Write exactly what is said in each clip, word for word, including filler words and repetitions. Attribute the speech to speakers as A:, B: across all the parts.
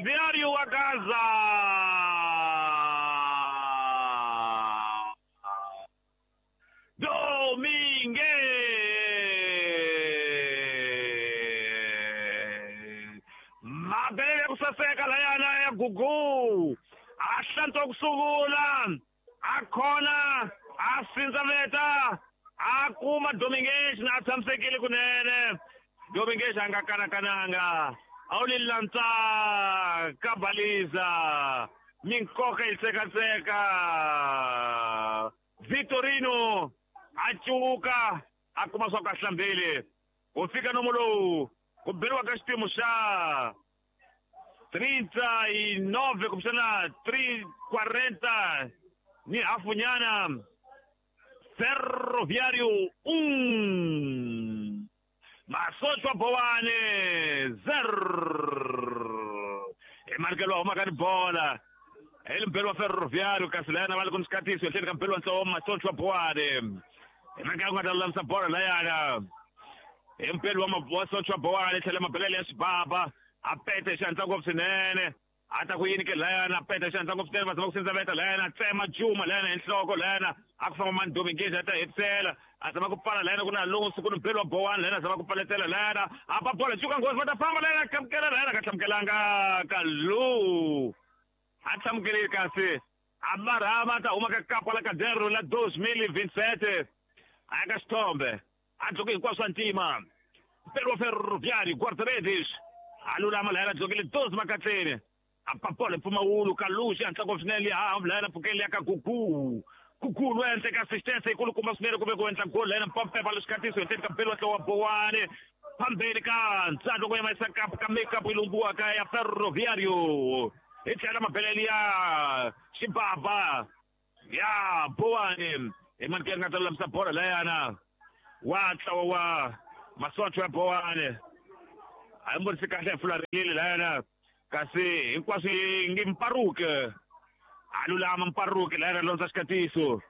A: Ferroviário a casa. Domingues. Mabele kusaseka layana ya Gugu. Ahlanto kusungula. Akhona asinzaveta. Akuma Domingues na tshamisekile kunene. Domingues anga kanakananga. Awulilanza kabaliza. Minkoka isekatseka. Vitorino achuka akuma swa kahlambele. Ufika nomulo kuberiwa ka xipimo xa trinta e nove kumbexana três quarenta ni hafunyana. Ferroviário um, Masochwa Boane zero. Emarkelo huma ka bola. Elimpelo wa Ferroviário kasi layana va le ku xikatiso etlhelo ka mpelo wa ntlawa wa Masochwa Boane. Emarkelo nga ta lulamisa bola layana. Empelo wa Masochwa Boane tlhela mabelele ya xibaba. A pete xandla ngopfu swinene. Ata ku yini ke layana pete xandla ngopfu swinene va zama ku sindzaveta layana tsema Juma layana hi nhloko layana a ku famba mani Domingues a ta hetisela a zama ku pfala layana ku na Alonso ku ni mpelo wa Bowane layana zama ku paletela layana a ba bola cuka nghozi va ta famba layana kamukela layana ka hlamukelanga Kalu a hlamukelile kasi a marhama ta huma ka kapa la Caderno la dois mil e vinte e sete a ya ka xithombe a dloke hinkwaswo swa ntima mpelo wa Ferroviário guarda-redes a lulama layana dlokile doze makatleni a papola mpfumawulo Kalu xi hatla ngopfu swinene ha layana pfukeli ya ka Gugu Gugu loyi endleka ka assistance yikulukumba swinene kumbe ku endla goal layana mpampepa leswikatiso hi ka mpelo wa ntlawa wa Bowane phambeni ka ntsandza ku yimisa kapu ka makeup yi lumbiwaka ya Ferroviário hi tlhela mabelele ya xibaba ya Bowane hi manikeli nga ta lulamisa bola layana wa ntlawa wa Masochwa ya Bowane a yi mbonisi kahle hi fularile layana kasi hinkwaswo yi ngi Mparuke a lulama Mparuke layana londza xikatiso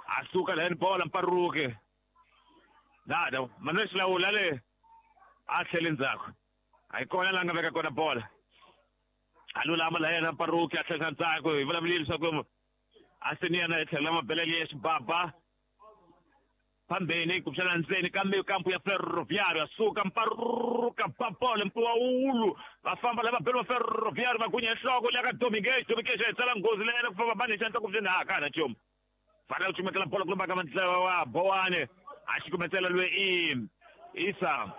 A: a suka layani bola Mparuke nada Manuel Xilawula le a tlhele ndzhaku a yi kona la nga veka kona bola a lulama layana Mparuke a tlhela ndzhaku hi vulavulile leswaku a seniyana hi tlhela mabelele ya xibaba phambeni kumbexana ndzeni ka kampu ya Ferroviário a suka Mparuka papola mpfuwawulu va famba lava belo va Ferroviário va gunya nhloko leya ka Domingues Domingues a hi tsala nghozi layena ku famba bani xandla ku ha ka na nchumu fanele ku cukumetela bola ku lomba ka mantlawa wa Bowane a cukumetela loyi i Isa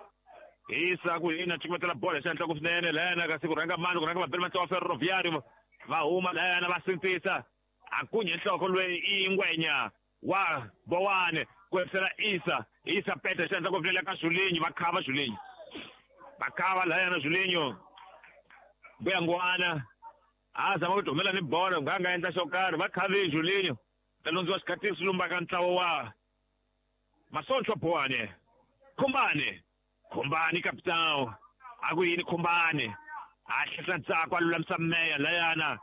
A: Isa ku yini a cukumetela bola xandla ku swinene layena kasi ku rhanga mani ku rhanga vabeli va ntlawa wa Ferroviário va huma layena va sindzisa a gunya nhloko loyi i Ngwenya wa Bowane ku hetisela Isa Isa pete xandla ku pfulela ka Julinho va khava Julinho va khava layana Julinho Mbuyangwana a zama ku humela ni bola nga nga endla xo karhi va khavi Julinho ta londziwa xikatiso lumba ka ntlawa wa Masochwa Bowane Khumbane Khumbane capitão a ku yini Khumbane a hlehla ntsako a lulamisa meya layana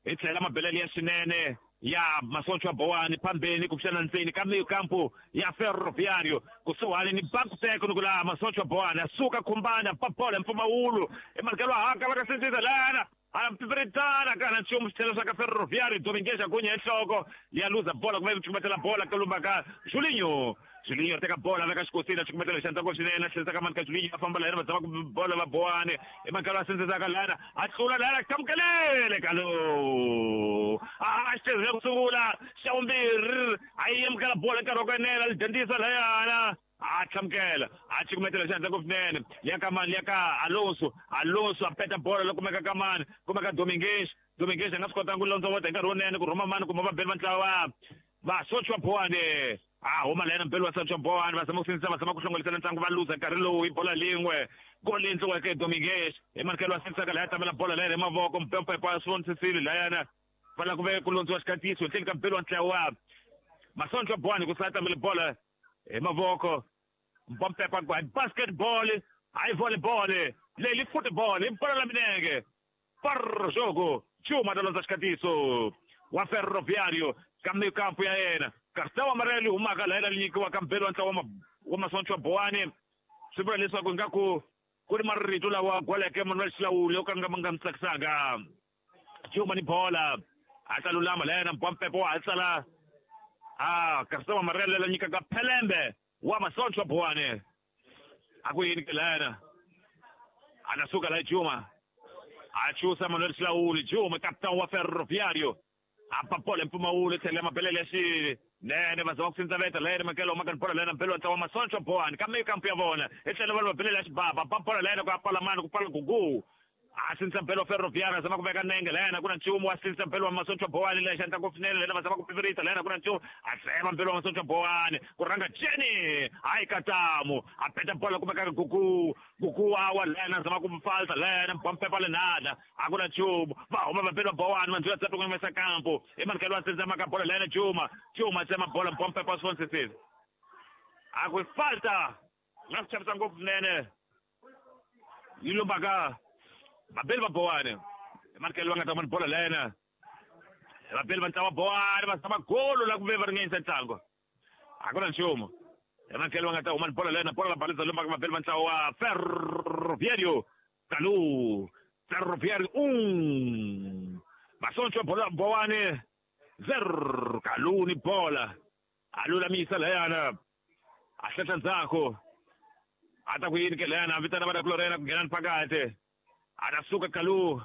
A: hi tlhela mabelele ya swinene ya Masochwa Bowane phambeni kumbexana ndzeni ka kampu ya Ferroviário kusuhani ni Banco Técnico la Masochwa Bowane a suka Khumbane a papola mpfumawulo emalikelo haka va ka sindzisa layana a pipiritana kana nchumu xitlhelo swa ka Ferroviário Domingues a gunya enhloko ya luza bola kumbe ku cukumetela bola ka lumba ka Julinho Julinho teka bola veka xikosini a cukumetela xandla ngopfu swinene a tlherisa ka mani ka Julinho a famba layena va zama ku bola va Bowane emankalo a sindzisaka layana a tlula layana kamukelele Kalu a xitezile ku sungula xa vumbirhi a yi amukela bola nkarhi wa ku enela li dyondzisa layana a hlamukela a cukumetela xandla ngopfu swinene ya ka mani ya ka Alonso Alonso a peta bola loko kumeka ka mani kumeka Domingues Domingues a nga swi kotanga ku londzovota hi nkarhi wunene ku rhuma mani kumbe va beli va ntlawa Masochwa Bowane a huma layena mpelo wa Sochwa Bowane va zama ku sindzisa va zama ku hlongolisela ntlangu va luza nkarhi lowu hi bola lin'we goli endliweke Domingues hi manikelo wa sindzisaka laya tamela bola layena hi mavoko mpempepo a swi vonisisile layana fanele ku ve ku londziwa xikatiso ntlheni ka mpelo wa ntlawa Masochwa Bowane ku sala tamele bola hi mavoko mpampepa ku hi basketball hayi volleyball leyi football hi bola la minenge par jogo Juma ta londza xikatiso wa Ferroviário ka kampu ya yena Cartão amarelo humaka layena li nyikiwa ka mpelo wa ntlawa wa Masochwa Bowane swi vula leswaku ingaku Ku ri marito lawa gwaleke Manuel Xilawuli yo ka nga ma nga mi tsakisanga. Juma ni bola a ta lulama lena Mpwampepo wa ha tsala a Kasama Marele la nyikaka Phelembe wa Masontsho Bowane. A ku yini ke lena a na suka la Juma a chusa Manuel Xilawuli. Juma capitão wa Ferroviário a papola mpfumawulo tlhela mabelele ya xili nene va zama ku sindzaveta lena makelo ma bola lena mpelo wa Masontsho Bowane kambe kampu ya vona hi tlhela va mabelele ya xibaba papola lena ku ya pala mani ku pala gugu a sindza mpelo wa Ferroviário zama ku veka nenge lena ku na nchumu wa sindza mpelo wa Masontsho Bowane lexa ndla ngopfu swinene lena va zama ku pivirisa lena ku na nchumu a tsema mpelo wa Masontsho Bowane ku rhanga Jenny hayi katamu a peta bola ku veka gugu gugu wa lena zama ku falsa lena mpampepa lenada a ku na nchumu va huma va mpelo wa Bowane mandzula tsato ku yimesa kampo i mankelo wa sindza maka bola lena Juma Juma tsema bola mpampepa swonsisisi a ku falta nga swi chavisa ngopfu swinene yi lombaka vabeli va Bowane emanikelo va nga ta vona bola lena vabeli va ntlawa Bowane va zama golo la ku ve va ringanyisa ntlangu a ku na nchumu emanikelo va nga ta huma ni bola lena bola la balisa lombaka vabeli va ntlawa wa Ferroviário Kalu Ferroviário um Masontsho Bowane zero Kalu ni bola a lulamisa layana a hlehla ndzhaku a ta ku yini ke leyana a vitana vana kulorena ku nghena ni phakati anasuka Kalu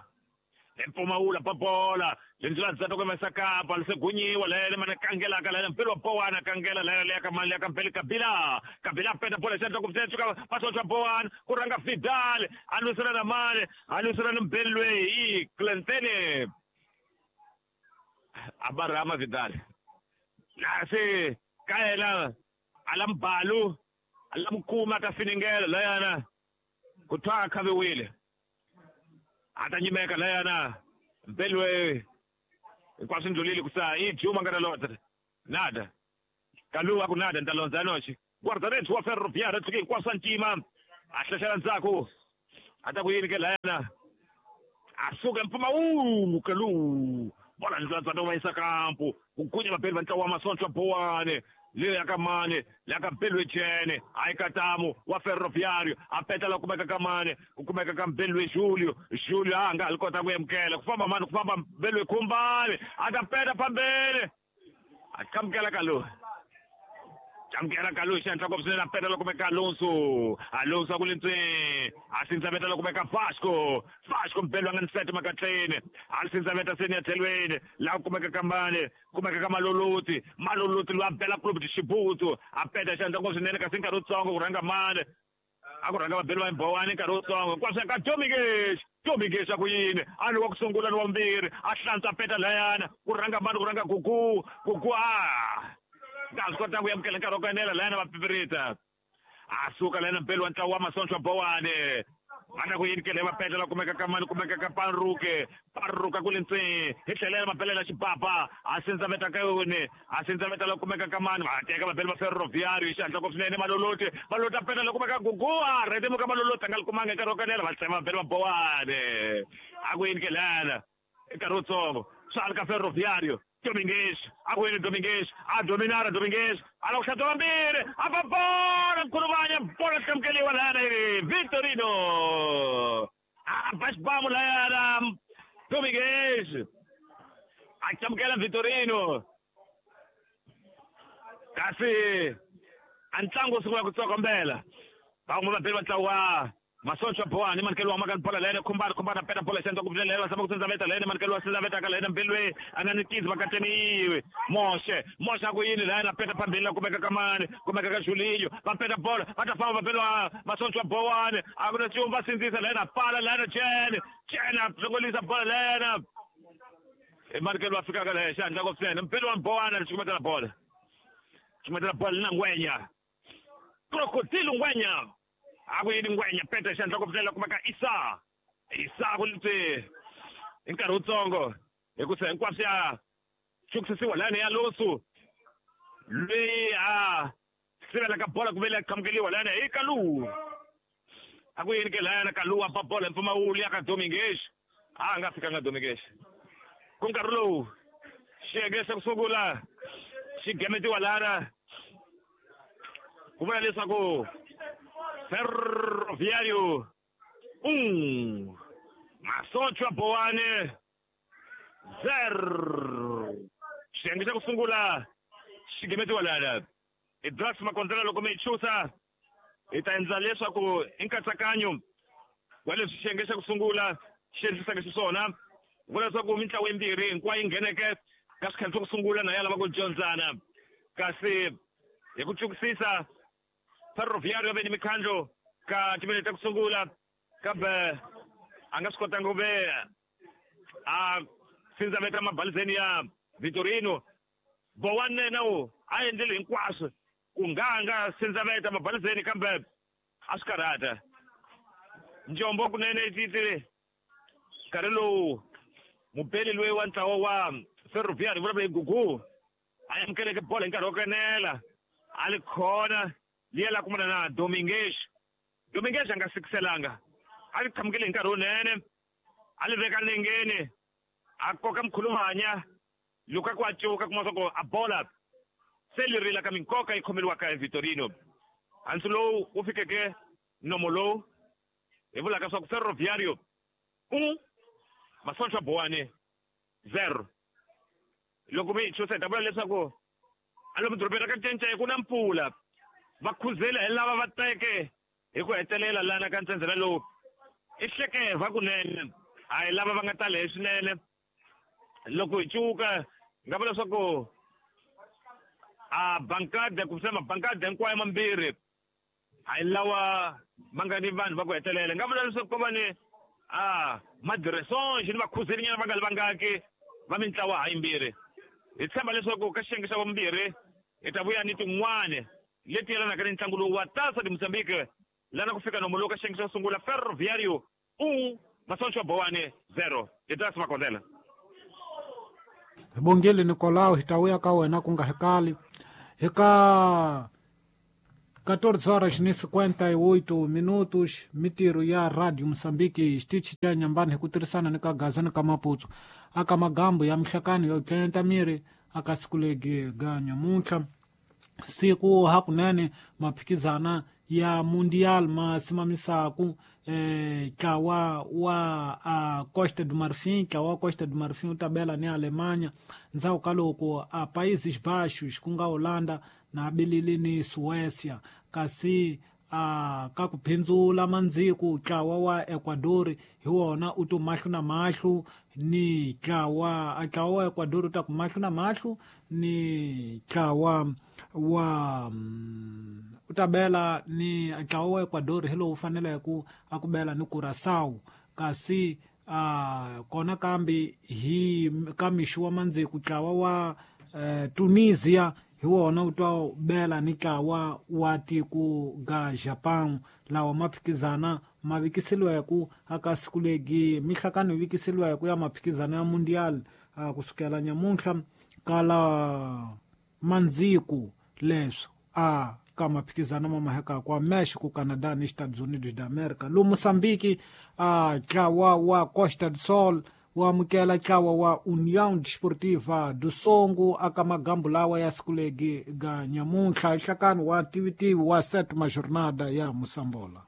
A: empfumawula pabola lendlela ndzata ku yimesa kapa lisegunyiwa lele mana kangelaka lele mpelo wa Bowana kangela lele leya ka mali ya ka mpeli Kabila Kabila peta bola xandla ku pfuka Masontsho Bowane ku rhanga Vidal a lwisana na mani a lwisana ni mpeli loyi i Clentene a barama Vidal nasi ka yena a la mbalu a la mukuma ka finingela layana ku twa a khaviwile a ta nyimeka layana mpelwe hinkwaswo ndlulile ku sa i Juma nga ta londza nada Kalu a ku nada ni ta londza noxi guarda-redes wa Ferroviário tshuke hinkwaswo swa ntima a hlehlela ndzhaku a ta ku yini ke layana a suka mpfumawulo Kalu bola ndlula ndzata wa yisa kampu ku gunya vabeli va ntlawa wa Masontsho Bowane leya ka mane leya ka Mpelwe Jene hayi katamu wa Ferroviário a peta la kumeka ka mane ku kumeka ka Mpelwe Julio Julio a nga ha li kota ku amukela ku famba mani ku famba Mpelwe Khumbane a ta peta phambili a qamukela Kalu qamukela Kalu xandla ngopfu swinene a peta la kumeka Alonso Alonso a ku le ntsweni a sindzaveta la kumeka Vasco Vasco Mpelwe a nga ni sete makatleni a li sindzaveta seni ya tlhelweni laha kumeka ka mani kumeka ka Maloloti Maloloti loyi a bela club Xibutu a peta xandla ngopfu swinene kasi nkarhi wutsongo ku rhanga mani a ku rhanga vabeli va Bowane nkarhi wutsongo hinkwaswo ka Dominguez Dominguez a ku yini a ni wa ku sungula ni wa vumbirhi a hlantswa peta layana ku rhanga mani ku rhanga Gugu Gugu a nga swi kotanga ku amukela nkarhi wa ku enela layana va pipirita a suka layana mpeli wa ntlawa wa Masontsho Bowane va ta ku yini ke va peta la kumeka ka mani kumeka ka Paruke Paruka ku le ntseni hi tlhelela mabelela xibaba a sindzaveta ka yoni a sindzaveta la kumeka ka mani va teka vabeli va Ferroviário hi xihatla ngopfu swinene Maloloti Maloloti a peta la kumeka Gugu a rhetemuka Maloloti a nga li kumanga nkarhi wa ku enela va tsema vabeli va Bowane a ku yini ke lana nkarhi wutsongo swa li ka Ferroviário Dominguez a ku yini Dominguez a dominara Dominguez a la ku hlantswa vambirhi a ba bola nkhuluvanya bola hlamukeliwa layana yi Victorino a ba xibamu layana Dominguez a hlamukela Victorino kasi a ntlangu wu sungula ku tsokombela van'we vabeli va ntlawa Masontsho Bowane manikelo wa maka bola lena khumbana khumbana peta bola xandla ku pfuna lena sama ku sindzaveta lena manikelo wa sindzaveta ka lena mbelwe a nga ni tizi vakateniwe Moshe Moshe a ku yini lena peta phambili la kumeka ka mani kumeka ka Julinho va peta bola va ta famba vabeli Masontsho Bowane a ku na nchumu va sindzisa lena pala lena Jene Jene a hlongolisa bola lena i manikelo wa fikaka le xandla ku pfuna mbelwe wa Bowane xikumetela bola xikumetela bola na Ngwenya Crocodile Ngwenya a ku yini Ngwenya peta xandla ku pfulela kumeka Isa Isa ku litse hi nkarhi wutsongo hi ku se hinkwaswo ya chukusisiwa lani ya Alonso loyi a sivelaka bola ku vele qhamukeliwa lani hi Kalu a ku yini ke layana Kalu a ba bola mpfumawulo ya ka Dominguez a nga fikanga Dominguez ku nkarhi lowu xiyenge xa ku sungula xi gemetiwa lana ku vula leswaku Ferroviário Um, Masochwa Bowane zero. Xiyenge xa ku sungula xi gemetiwa lana. I Drax Makondzela loko mi yi chusa hi ta endla leswaku i nkatsakanyo wa leswi xiyenge xa ku sungula xi endlisaka xiswona. Vula leswaku mintlawa yimbirhi hinkwayo yi ngheneke ka swikhathi swa ku sungula na ya lava ku dyondzana. Kasi hi ku tsukisisa Ferroviário va ve ni mikhandlo ka timinete ta ku sungula kambe a nga swi kotanga ku ve a sindzaveta mabalizeni ya Vitorino. Bowane na wu a endlile hinkwaswo ku nga nga sindzaveta mabalizeni kambe a swi karhata. Njombo kunene titile nkarhi lowu mubeli loyi wa ntlawa wa Ferroviário vulavula hi Gugu a amukeleke bolo hi nkarhi wo kenela a li khona liya la kumana na Domingues. Domingues a nga sikiselanga a li qhamukile hi nkarhi wunene a li veka nengeni a koka mkhulumanya Lukaku a cuka kuma swa ku a bola se li rila ka minkoka yi khomeliwaka hi Vitorino. Hansi lowu wu fikeke nomo lowu hi vulaka swa ku Ferroviário un Masochwa Bowane zero. Loko mi chusa hi ta vula leswaku a lomu dorobeni ra ka Ncence ku na mpfula va khuzela hi lava va teke hi ku hetelela lana ka ntsendzela lowu i hlekeva kunene a hi lava va nga tala hi swinene. Loko hi cuka nga vula leswaku a bankada kumbexana mabankada hinkwayo mambirhi a hi lawa ma nga ni vanhu va ku hetelela. Nga vula leswaku ko va ni a madiresonge ni vakhuzelinyana va nga li vangaki va mintlawa ha yimbirhi. Hi tshemba leswaku ka xiyenge xa vumbirhi hi ta vuya ni tin'wani leti yelanaka ni ntlangu lowu wa Taça de Moçambique lana ku fika nomo lowu ka xiyenge xa sungula Ferroviário un Masochwa Bowane zero. Hi ta Makondela.
B: Hi bongile Nicolau, hi ta vuya ka wena ku nga hekali. Hi ka quatorze horas ni cinquenta e oito minutos, mitirho ya Radio Moçambique xitichi xa Nyambani hi ku tirhisana ni ka Gaza ni ka Maputo aka magambo ya mihlakano yo tlenta miri aka siku legi ga nyamuntlha siku hakunene maphikizana ya Mundial ma simamisaku eh, ntlawa wa a Costa do Marfim, ntlawa wa Costa do Marfim wu ta bela ni Alemanha ndzhaku ka loko a Países Baixos ku nga Holanda na bilili ni Suécia. Kasi a ka ku phindzula mandziku ntlawa wa Ecuador hi wona u to mahlo na mahlo ni ntlawa a ntlawa wa Ecuador u ta ku mahlo na mahlo ni ntlawa wa u ta bela ni ntlawa wa Ecuador hi lowu faneleke ku a ku bela ni Curaçao. Kasi a kona kambe hi ka mixo wa mandziku ntlawa wa eh, Tunisia hi wona wu ta bela ni ntlawa wa tiko ga Japan lawa maphikizana ma vikiseliweke aka siku legi mihlakano yi vikiseliweke ya maphikizana ya Mundial a kusukela nyamuntlha kala mandziku leswo a ka maphikizana ma maheka kwa México, Canadá ni Estados Unidos da América. Lo Moçambique a ntlawa wa Costa do Sol wa amukela ntlawa wa União Desportiva do Songo aka magambo lawa ya siku legi ga nyamuntlha nhlakano wa tivitivi wa sétima jornada ya Moçambola.